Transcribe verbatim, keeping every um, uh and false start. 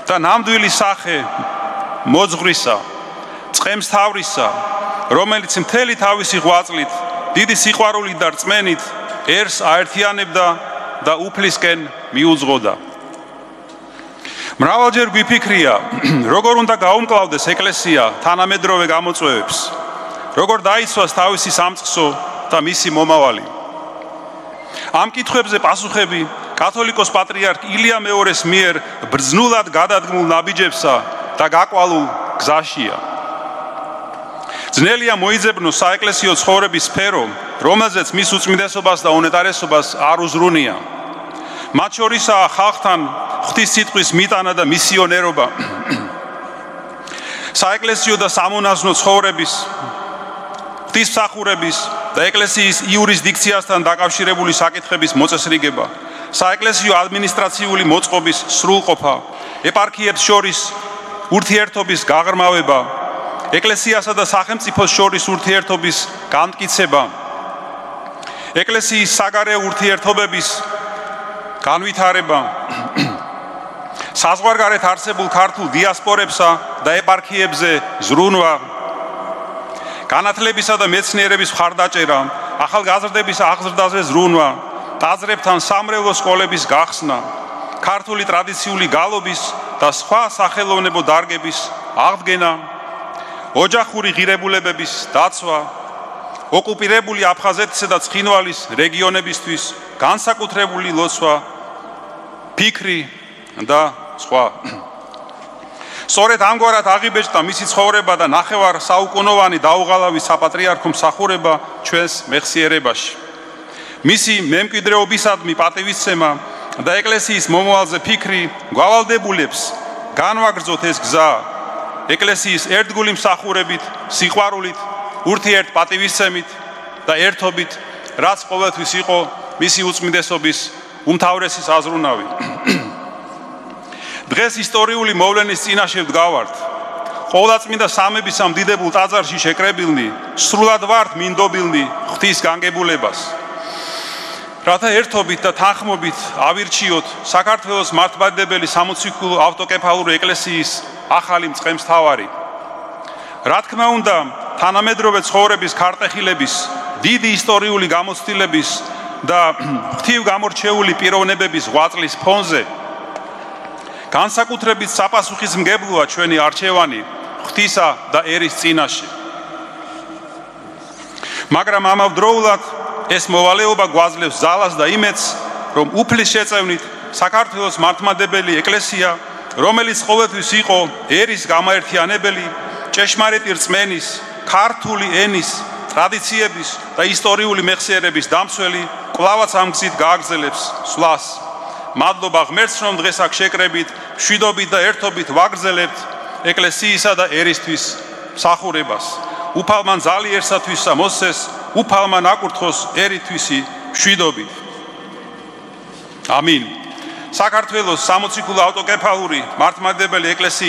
და ნამდვილი სახე მოძღვრისა, წყემს თავრისა, რომელიც მთელი თავისი ღვაწლით, დიდი სიყვარულით და რწმენით ერს აერთიანებდა და უფლისკენ მიუძღოდა. მრავალჯერ გვიფიქრია, როგორ უნდა გაუმკლავდეს ეკლესია თანამედროვე გამოწვევებს, როგორ დაიცვას თავისი სამწყსო და მისი მომავალი. ამ კითხვებზე პასუხები კათოლიკოს პატრიარქ ილია მეორეს მიერ ბრძნულად გადადგმულ ნაბიჯებსა და გაკვალულ გზაშია. ძნელია მოიძებნოს საეკლესიო ცხოვრების სფერო, რომელზეც მის უწმიდესობას და უნეტარესობას არ უზრუნია. მათ შორისაა ხალხთან ღვთისმსიტყვის მიტანა და მისიონერობა. საეკლესიო და სამონაზვნო ცხოვრების, ღვთისმსახურების და ეკლესიის იურისდიქციასთან დაკავშირებული საკითხების მოწესრიგება, საეკლესიო ადმინისტრაციული მოწყობის სრულყოფა, ეპარქიებს შორის ურთიერთობის გაღრმავება, ეკლესიასა და სახელმწიფოს შორის ურთიერთობის განმტკიცება, ეკლესიის საგარეო ურთიერთობების განვითარება, საზღვარგარეთ არსებულ ქართულ დიასპორებსა და ეპარქიებზე ზრუნვა, განათლებისა და მეცნიერების მხარდაჭერა, ახალგაზრდების აღზრდაზე ზრუნვა, ტაძრებთან სამრევლო სკოლების გახსნა, ქართული ტრადიციული გალობის და სხვა სახელოვნებო დარგების აღდგენა, ოჯახური ღირებულებების დაცვა, ოკუპირებული აფხაზეთისა და ცხინვალის რეგიონებისთვის განსაკუთრებული ლოცვა, ფიქრი და სხვა. სწორედ ამგვარად აღიბეჭდა მისი ცხოვრება და ნახევარ საუკუნოვანი დაუღალავი საპატრიარქო მსახურება ჩვენს მეხსიერებაში. მისი მემკვიდრეობისადმი პატივისცემა და ეკლესიის მომავალზე ფიქრი გვალდებულებს განვაგრძოთ ეს გზა ეკლესიის ერთგული მსახურებით, სიყვარულით, ურთიერთ პატივისცემით და ერთობით, რაც ყოველთვის იყო მისი უწმიდესობის უმთავრესი საზრუნავი. დღეს ისტორიული მოვლენის წინაშე ვდგავართ. ყოვლადწმინდა სამების ამ დიდებულ ტაძარში შეკრებილნი, სრულად ვართ მინდობილნი ღვთის განგებულებას. რათა ერთობით და თანხმობით ავირჩიოთ საქართველოს მართლმადიდებელი სამოციქულო ავტოკეფალური ეკლესიის ახალი მწყემსთავარი. რა თქმა უნდა, თანამედროვე ცხოვრების ქარტეხილების, დიდი ისტორიული გამოცდილების და ღვთივ გამორჩეული პიროვნებების ღვაწლის ფონზე განსაკუთრებით საპასუხისმგებლოა ჩვენი არჩევანი ღვთისა და ერის წინაშე. მაგრამ ამავდროულად ეს მოვალეობა გვაძლევს ძალას და იმედს, რომ უფლის შეწევნით საქართველოს მართლმადიდებელი ეკლესია, რომელიც ყოველთვის იყო ერის გამაერთიანებელი, ჭეშმარიტი რწმენის, ქართული ენის, ტრადიციების და ისტორიული მეხსიერების დამცველი, კვლავაც ამ გზით გააგრძელებს სვლას. მადლობა ღმერთს, რომ დღეს აქ შეკრებით, მშვიდობით და ერთობით ვაგრძელებთ ეკლესიისა და ერისთვის მსახურებას. უფალმა ძალიერსათვისა მოსცეს, უფალმა ნაკურთხოს ერითვისი მშვიდობით. ამინ. საქართველოს სამოციქულო ავტოკეფალური მართლმადიდებელი ეკლესიის